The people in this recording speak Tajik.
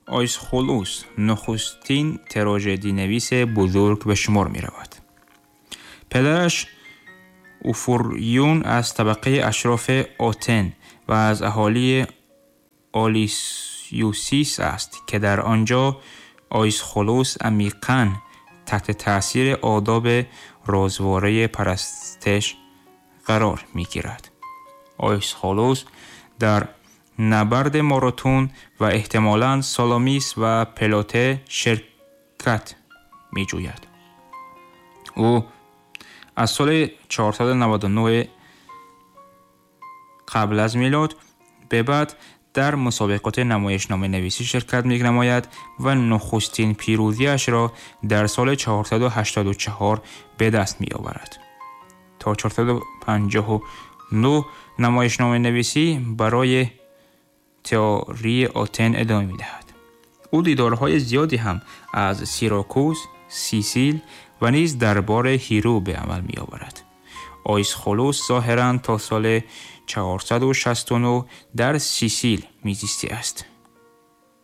Айсхулус нахустин тражединавис бузург ба шумор меравад. Падараш Уфурюн аз табақаи ашрофи Отен ва аз аҳолии Олисюсис аст, ки дар он ҷо Айсхулус амиқан таҳти таъсири одоби розвораи парастиш қарор мегирад. Айсхулус дар набарди Маратон ва эҳтимолан Саламис ва Плате ширкат меҷӯяд. Ӯ аз соли 499 қабл аз милод ба баъд дар мусобиқоти намоишноманависӣ ширкат менамояд ва нахустин пирӯзиашро дар соли 484 ба даст меоварад. То 459 намоишноманависӣ барои теории Отен идома медиҳад. Ӯ дидорҳои зиёде ҳам аз Сиракуз, Сисил ва низ дарбори Ҳиро ба амал меоварад. Айсхулус зоҳиран то соли 469 дар Сисил мезистааст.